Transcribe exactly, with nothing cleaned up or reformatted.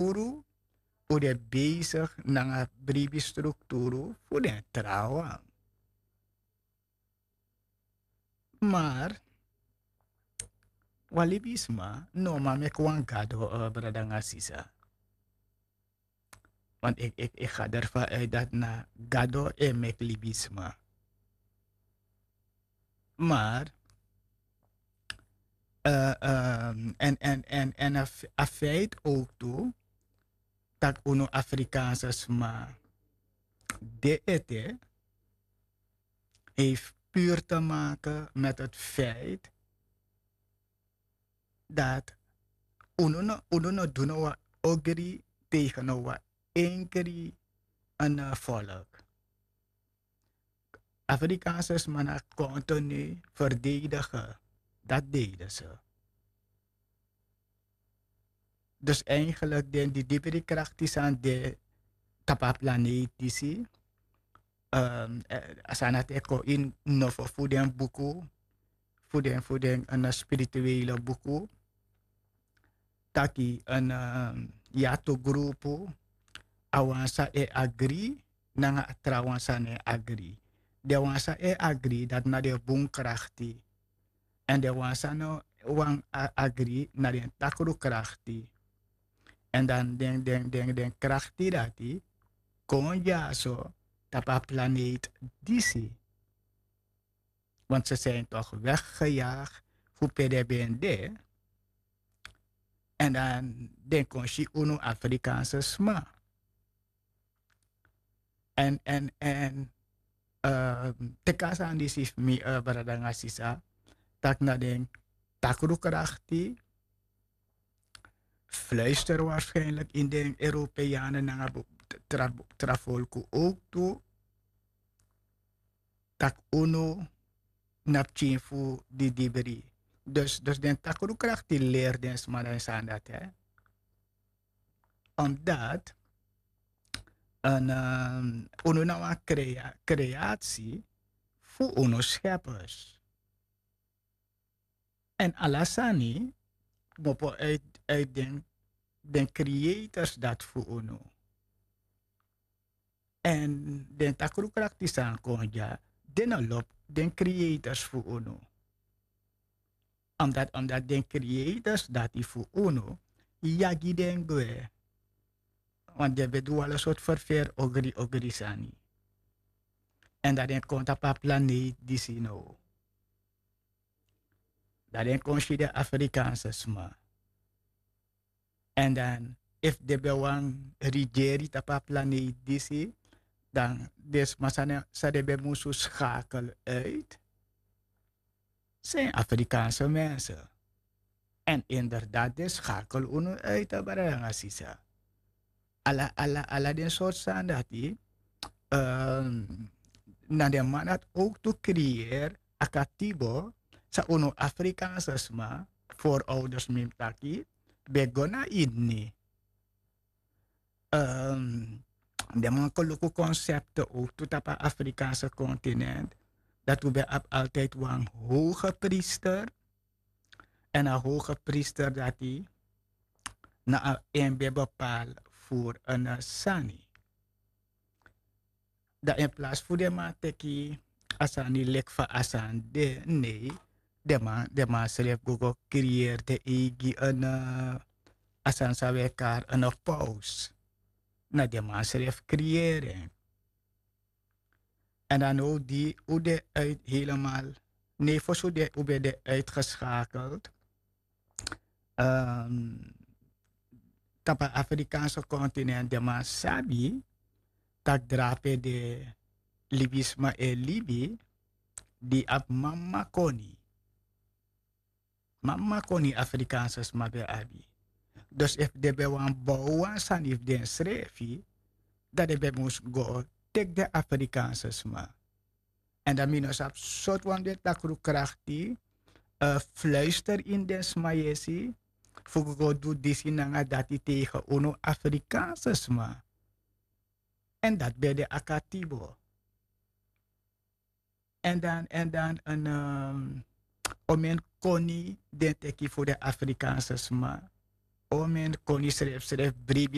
strukturu, un de bezig nanga bribi strukturu fu den trawan. Maar wan libisma no man meki wan gado, eh, brada nanga sisa. Want ik, ik, ik ga ervan uit dat na gado e meki libisma. Maar eh, ehm, en, en, en, en a f- a feit ook toe dat unu Afrikaanse sma de ete heeft puur te maken met het feit dat unu no, unu no doen wa ogri tegen wa enkri een eh, volk. Afrikaanse sma na continu verdedigen. Dat deden ze. Dus eigenlijk den di dibri krakti san de tapu a planeet disi, ehm, eh, a san dati e kon ini nofo fu den buku, fu den fu den, eh, spirituele buku, taki, eh, ya tu grupu, a wan san e agri nanga a trawan san no e agri. Den wan san e agri, dati na den bun krakti. Èn den wan san no wani a- agri na den takru krakti. Èn dan den den den den krakti dati kon dyaso tapu a planeet disi. Want ze zijn toch weggejaagd fu pe den ben de. Èn dan den kon si unu Afrikaanse sma. Èn èn èn eh, teki a sani disi fu mi, eh, brada nanga sisa, taki na den takru krakti fluister waarschijnlijk ini den Europeanen nanga tra tra folku ook tu, taki unu na pikin fu di dibri. Dus dus den takru krakti leri den sma den sani dati, hè. Omdat een, ehm, unu na wan crea- creatie fu unu scheppers. Èn ala sani kmopo uit uit den den creators dati fu unu. Èn den takru krakti san kon dya, den no lobi den creators fu unu. Omdat omdat den creators dati fu unu yagi den gwe. Want den ben du ala sortu ferferi ogri ogri sani. Èn dan den kon tapu a planeet disi now. Dan den kon si den Afrikaanse sma. Èn dan efu den ben wani rigeri tapu a planeet disi, dan den sma san den ben musu skakel uit, zijn Afrikaanse mensen. Èn inderdaad den skakel unu uit, brada nanga sisa. Ala ala ala den sortu sani dati, na den man dati ook tu creëer a katibo san unu Afrikaanse sma, voorouders mi mus taki, ben go na ini. Den man kon luku konsepte ook tu tapu a Afrikaanse continent, dati un ben abi altijd wan hoge priester. Èn a hoge priester dati na a en ben bepaal fu en sani. Dan in plaats fu den man teki a sani leki fa a sani de, nee, den man den man srefi go go creëer den eigi en, a sani san wi e kari en paus. Na den man srefi creëer en. Èn dan now di un de uit helemaal, nee, fosi un de un ben de uitgeschakeld. Tapu a Afrikaanse continent den man sabi tak' drape de libisma e libi di abi mama koni. Mama koni Afrikaanse sma ben abi. Dus efu den ben wani bow wan sani fu densrefi, dan den ben mus go teki den Afrikaanse sma. Èn dan mi no sabi sortu wan den takru krakti fluister ini den sma yesi fu go du disi nanga dati tegen unu Afrikaanse sma. Èn dati ben de a katibo. Èn dan èn dan en omen koni den teki fu den Afrikaanse sma. Omen koni srefsref.